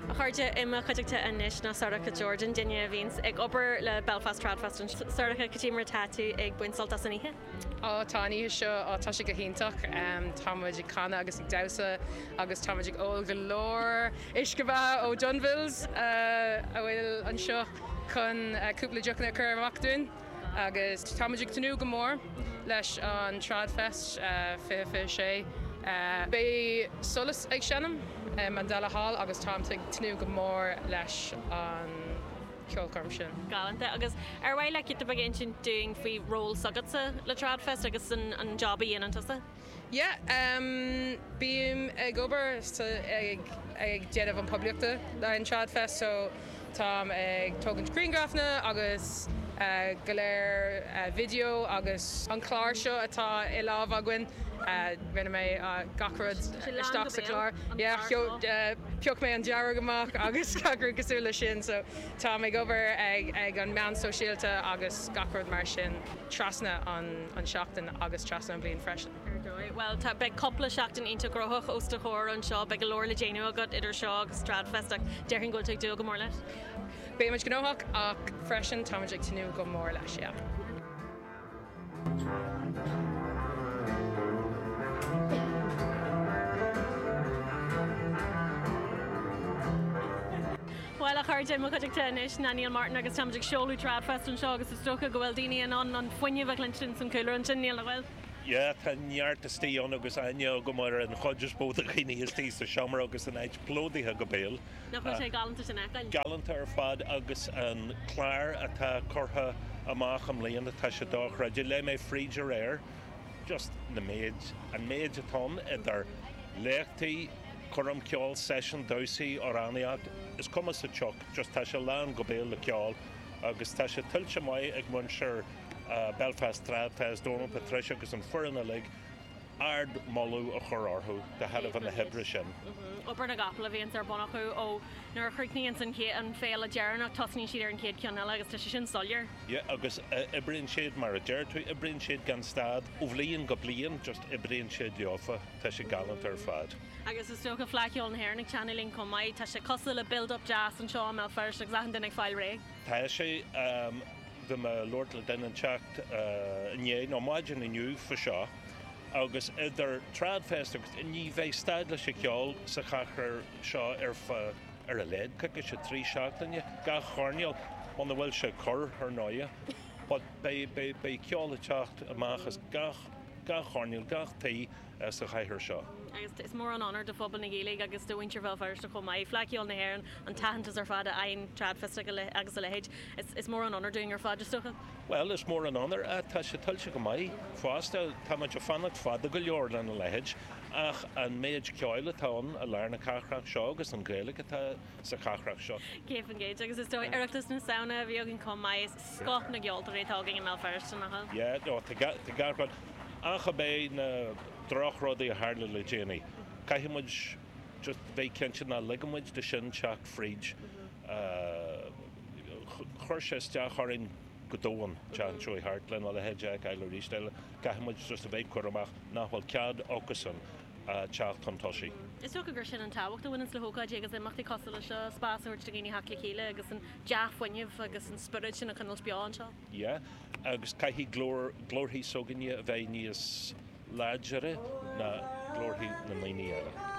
A chairde, i mo chuideachta anois ná Sorcha Jordan, duine a bhíonns ag obair le Belfast Tradfest anseo. Sorcha, cad é mar atá tú ag baint sult as an oíche? Á, tá an oíche seo, á, tá sé go hiontach. Tá muid ag canadh agus ag damhsa agus tá muid ag ól go leor uisce beatha ó Dunville's a bhfuil anseo chun cúpla deochanna a chur amach dúinn. Agus tá muid ag tnúth go mór leis an Tradfest 2026. Beidh Solas ag seinm i Mandela Hall agus táim ag tnúth go mór leis an cheolchoirm sin. Galánta. Agus ar mhaith leat giota beag a insint dúinn faoi ról s'agatsa le Tradfest agus an job a dhéanann tusa? Yeah, bím ag obair ag déanamh an poiblíochta le an Tradfest so táim ag tógaint grianghrafanna agus go léir video agus an clár seo atá i lámh againn rinne mé gach rud isteach sa chlár. Yeah, phioc mé an dearg amach agus gach rud cosúil le sin so táim ag obair ag an meán sóisialta agus gach rud mar sin. trasna an seachtain agus trasna an bhliain freisin. Ar dóigh. Bhuel, tá, beidh cúpla seachtain iontach gnóthach os do chomhair anseo, beidh go leor le déanamh agat idir seo agus Tradfest ach déarfainn go bhfuil tú ag dúil go mór leis. Beidh muid gnóthach ach freisin táimid ag tnúth go mór leis, yeah. Bhuel, a chairde, i mo chuideachta anois ná Neil Martin agus táimid ag seoladh Tradfest anseo agus is dócha go bhfuil daoine in ann an fuinneamh a chluinstin san cúlra ansin, Neil, nach bhfuil? Yeah, tá neart istigh ann agus aithne agam ar an chuid is mó de dhaoine istigh sa seomra agus an áit plódaithe go béal. Nach bhfuil sé galánta sin a fheiceáil? Galánta ar fad agus an clár atá curtha amach i mbliana, tá sé dochreidte. Léigh mé fríd aréir just na méid, an méid atá ann idir léachtaí, Coirm ceoil, seisiún damhsa, amhránaíocht, is cuma sa tsioc, just tá sé lán go béal le ceol agus tá sé tuillte maith ag muintir Belfast Tradfest, Dónal, Patricia agus an foireann uilig, ard moladh a chur orthu de thairbhe na hoibre sin. Obair na gcapall a bhíonns ar bun acu ó nuair a chríochnaíonns an chéad, an féile deireanach tosnaíonn siad ar an chéad cheann eile agus tá sé sin soiléir. Yeah agus oibríonn siad mar a deir tú, oibríonn siad gan stad ó bhliain go bliain, just oibríonn siad leofa. Tá sé galánta ar fad. Agus is dócha Fleadh Cheoil na hÉireann ag teannadh linn chomh maith. Tá sé cosúil le build up deas anseo i mBéal Feirste agus achan duine ag fáil réidh. Tá sé. Bhí mé ag labhairt le duine inteacht inné, nó maidin inniu faoi seo, agus idir Tradfest agus, ní bheidh stad leis an cheol sa chathair seo ar feadh, ar a laghad, coicíse, 3 seachtaine, gach coirnéal, muna bhfuil sé corr, ar ndóighe. But beidh, beidh, beidh ceol ag teacht amach as gach. gach coirnéal, gach tí sa chathair seo. Agus is mór an onóir do phobal na Gaeilge agus do mhuintir Bhéal Feirste chomh maith. Fleadh Cheoil na hÉireann, an t-aitheantas ar fad a fhaigheann Tradfest agus a leithéid. Is mór an onóir dúinn ar fad, is dócha. Bhuel, is mór an onóir é. Tá sé tuillte go maith fosta. Tá muid ag fanacht fada go leor lena leithéid. Ach an méid ceoil atá ann i lár na cathrach seo agus an Ghaeilge atá sa chathrach seo. 100%. Agus is dóigh, Oireachtas na Samhna a bhí againn chomh maith. Is scoth na gceoltóirí atá againn i mBéal Feirste, nach bhfuil? Yeah, no, tá gach rud. Ach ab é na drochrudaí a tharla le déanaí, caithfidh muid just bheith cinnte nach ligeann muid de sin teacht fríd. Chuir sé isteach orainn go domhain, an tseachtain seo thart, lena leithéid a fheiceáil arís eile. Caithfidh muid just a bheith cúramach nach bhfuil cead acusan teacht chun tosaigh. Is dócha gur sin an tábhacht a bhaineanns le hócáidí agus imeachtaí cosúil le seo, spás a thabhairt do dhaoine theacht le chéile agus an dea-fhuinneamh agus an spiorad sin a choinneáilt beo anseo. Yeah, agus caithfidh glór, glórthaí s'againne a bheith níos láidire ná glórthaí na ndaoine eile.